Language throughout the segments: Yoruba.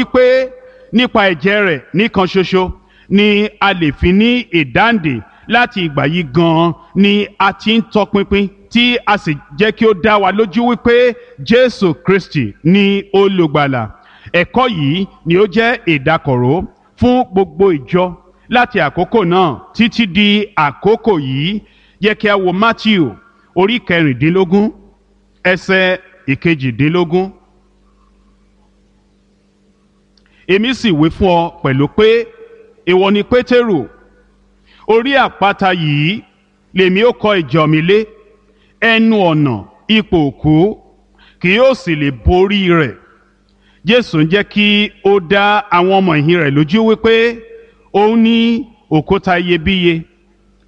Wípé nípa ẹ̀jẹ̀ rẹ̀ nìkan ṣoṣo ni a lè fi ní ìdáǹdè. Láti ìgbà yìí gan-an ni a ti ń tọpinpin tí a sì jẹ́ kí ó dá wa lójú wípé Jésù Kristi ni olùgbàlà. Ẹ̀kọ́ yìí ni ó jẹ́ ìdákọ̀ró fún gbogbo ìjọ láti àkókò náà títí di àkókò yìí. Jẹ́ kí a wo Matthew orí 16, ẹsẹ̀ 18. Èmi sì wí fún ọ pẹ̀lú pé ìwọ ni Pétérù, orí àpáta yìí lèmi ó kọ́ ìjọ mi lé, ẹnu ọ̀nà ipò òkú kì yóò sì lè borí rẹ̀. Jésù ń jẹ́ kí ó dá àwọn ọmọ ìhìn rẹ̀ lójú wípé òun ní òkúta iyebíye,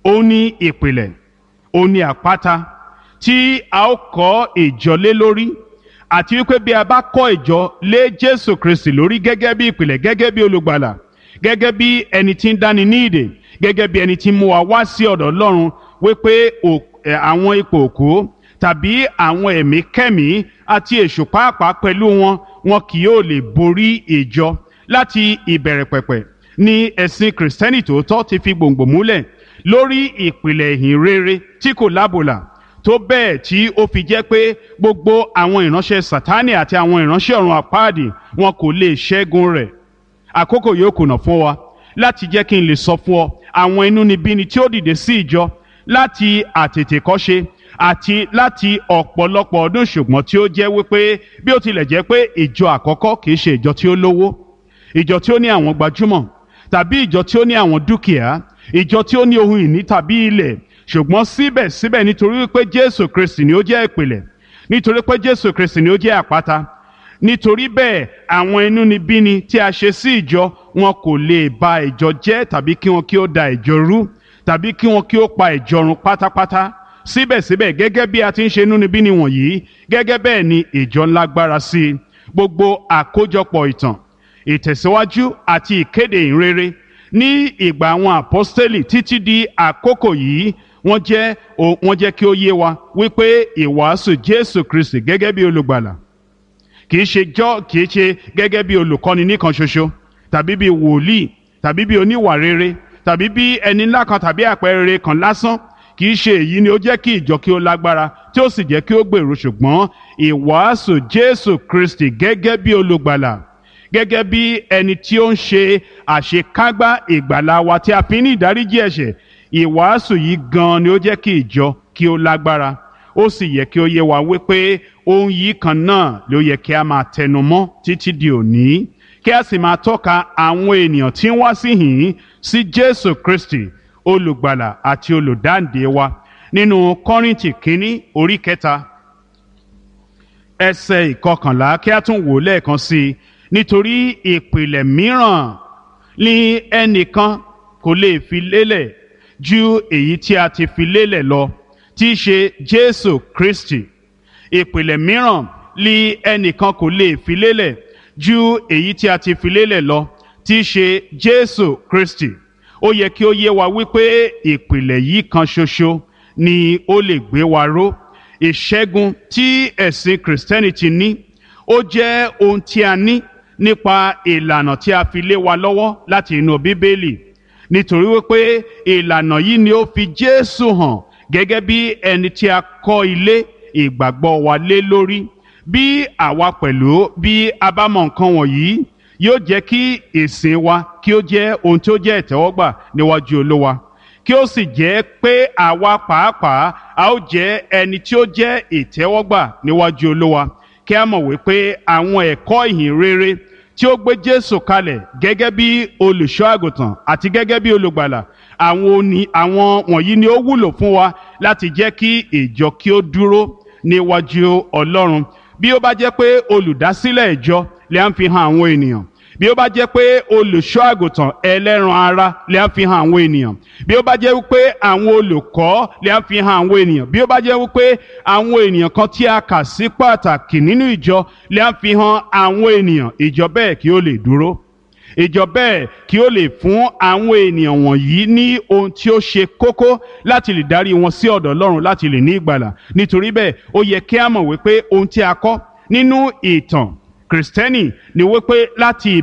òun ní ìpìlẹ̀, òun ní àpáta tí a ó kọ́ ìjọ lé lórí, àti wípé bí a bá kọ́ ìjọ lé Jésù Kristi lórí gẹ́gẹ́ bí ìpìlẹ̀, gẹ́gẹ́ bí olùgbàlà, gẹ́gẹ́ bí ẹni tí ń dáni ní ìdè, gẹ́gẹ́ bí ẹni tí ń mú wa wá sí ọ̀dọ̀ Ọlọ́run, wípé àwọn ipò òkú tàbí àwọn ẹ̀mí kẹ́mí àti èṣù pàápàá pẹ̀lú wọn, wọn kì yóò lè borí ìjọ. Láti ìbẹ̀rẹ̀ pẹ̀pẹ̀ ni ẹ̀sìn Kìrìsìtẹ́nì tòótọ́ ti fi gbòǹgbò múlẹ̀ lórí ìpìlẹ̀ ìhìn rere tí kò lábòlà, tó bẹ́ẹ̀ tí ó fi jẹ́ pé gbogbo àwọn ìránṣẹ́ Sátánì àti àwọn ìránṣẹ́ ọ̀run àpáàdì, wọn kò lè ṣẹ́gun rẹ̀. Àkókò yóò kùnà fún wa láti jẹ́ kí n lè sọ fún ọ àwọn inúnibíni tí ó dìde sí ìjọ láti àtètèkọ́ṣe àti láti ọ̀pọ̀lọpọ̀ ọdún, ṣùgbọ́n tí ó jẹ́ wípé bí ó tilẹ̀ jẹ́ pé ìjọ àkọ́kọ́ kì í ṣe ìjọ tí ó lówó, ìjọ tí ó ní àwọn gbajúmọ̀, tàbí ìjọ tí ó ní àwọn dúkìá, ìjọ tí ó ní ohun ìní tàbí ilẹ̀, ṣùgbọ́n síbẹ̀síbẹ̀, nítorí wípé Jésù Kristi ni ó jẹ́ ìpìlẹ̀, nítorí pé Jésù Kristi ni ó jẹ́ àpáta, nítorí bẹ́ẹ̀ àwọn inúnibíni tí a ṣe sí ìjọ, wọn kò lè ba ìjọ jẹ́, tàbí kí wọn kí ó da ìjọ rú, tàbí kí wọn kí ó pa ìjọ run pátápátá. Síbẹ̀síbẹ̀, gẹ́gẹ́ bí a ti ń ṣe inúnibíni wọ̀nyí, gẹ́gẹ́ bẹ́ẹ̀ ni ìjọ ńlágbára sí i. Gbogbo àkójọpọ̀ ìtàn ìtẹ̀síwájú àti ìkéde ìhìnrere ní ìgbà àwọn àpọ́stélì títí di àkókò yìí, wọ́n jẹ́ kí ó yé wa wípé ìwàásù Jésù Kristi gẹ́gẹ́ bí olùgbàlà, kì í ṣe gẹ́gẹ́ bí olùkọ́ni nìkan ṣoṣo, tàbí bí wòlíì, tàbí bí oníwà rere, tàbí bí ẹni ńlá kan, tàbí àpẹẹrẹ kan lásán, kì í ṣe èyí ni ó jẹ́ kí ìjọ kí ó lágbára tí ó sì jẹ́ kí ó gbèrú, ṣùgbọ́n ìwàásù Jésù Kristi gẹ́gẹ́ bí olùgbàlà, gẹ́gẹ́ bí ẹni tí ó ń ṣe àṣekágbá ìgbàlà wa tí a fi ní ìdáríjì ẹ̀ṣẹ̀, ìwàásù yìí gan-an ni ó jẹ́ kí ìjọ kí ó lágbára. Ó sì yẹ kí ó yé wa wípé ohun yìí kan náà ló yẹ kí a máa tẹnu mọ́ títí di òní, kí a sì máa tọ́ka àwọn ènìyàn tí ń wá síhìn sí Jésù Kristi, olùgbàlà àti olùdáǹdè wa. Nínú Kọ́ríńtì kínní orí 3, ẹsẹ̀ 11, kí a tún wò lẹ́ẹ̀kan sí i: nítorí ìpìlẹ̀ mìíràn ni ẹnìkan kò lè fi lélẹ̀ ju èyí tí a ti fi lélẹ̀ lọ, tí í ṣe Jésù Kristi. Ìpìlẹ̀ mìíràn ni ẹnìkan kò lè fi lélẹ̀ ju èyí tí a ti fi lélẹ̀ lọ, tí í ṣe Jésù Kristi. Ó yẹ kí ó yé wa wípé ìpìlẹ̀ yìí kan ṣoṣo ni ó lè gbé wa ró. Ìṣẹ́gun tí ẹ̀sìn Kìrìsìtẹ́nì ti ní, ó jẹ́ ohun tí a ní nípa ìlànà tí a fi lé wa lọ́wọ́ láti inú Bíbélì, nítorí wípé ìlànà yìí ni ó fi Jésù hàn gẹ́gẹ́ bí ẹni tí a kọ́ ilé ìgbàgbọ́ wa lé lórí. Bí àwa pẹ̀lú bí a bá mọ nǹkan wọ̀nyí, yóò jẹ́ kí ìsìn wa kí ó jẹ́ ohun tí ó jẹ́ ìtẹ́wọ́gbà níwájú Olúwa, kí ó sì jẹ́ pé àwa pàápàá a ó jẹ́ ẹni tí ó jẹ́ ìtẹ́wọ́gbà níwájú Olúwa. Kí a mọ̀ wípé àwọn ẹ̀kọ́ ìhìn rere tí ó gbé Jésù kalẹ̀ gẹ́gẹ́ bí olùṣọ́ àgùntàn àti gẹ́gẹ́ bí olùgbàlà, àwọn wọ̀nyí ni ó wúlò fún wa láti jẹ́ kí ìjọ kí ó dúró níwájú Ọlọ́run. Bí ó bá jẹ́ pé olùdásílẹ̀ ìjọ lè ń fi hàn àwọn ènìyàn, bí ó bá jẹ́ pé olùṣọ́ àgùntàn ẹlẹ́ran ara lè ń fi hàn àwọn ènìyàn, bí ó bá jẹ́ wípé àwọn olùkọ́ lè ń fi hàn àwọn ènìyàn, bí ó bá jẹ́ wípé àwọn ènìyàn kan tí a kà sí pàtàkì nínú ìjọ lè ń fi hàn àwọn ènìyàn, ìjọ bẹ́ẹ̀ kí ó lè dúró, ìjọ bẹ́ẹ̀ kí ó lè fún àwọn ènìyàn wọ̀nyí ní ohun tí ó ṣe kókó láti lè darí wọn sí ọ̀dọ̀ Ọlọ́run, láti lè ní ìgbàlà. Nítorí bẹ́ẹ̀, ó yẹ kí a mọ̀ wípé ohun tí a kọ́ nínú ìtàn Kìrìsìtẹ́nì ni wípé láti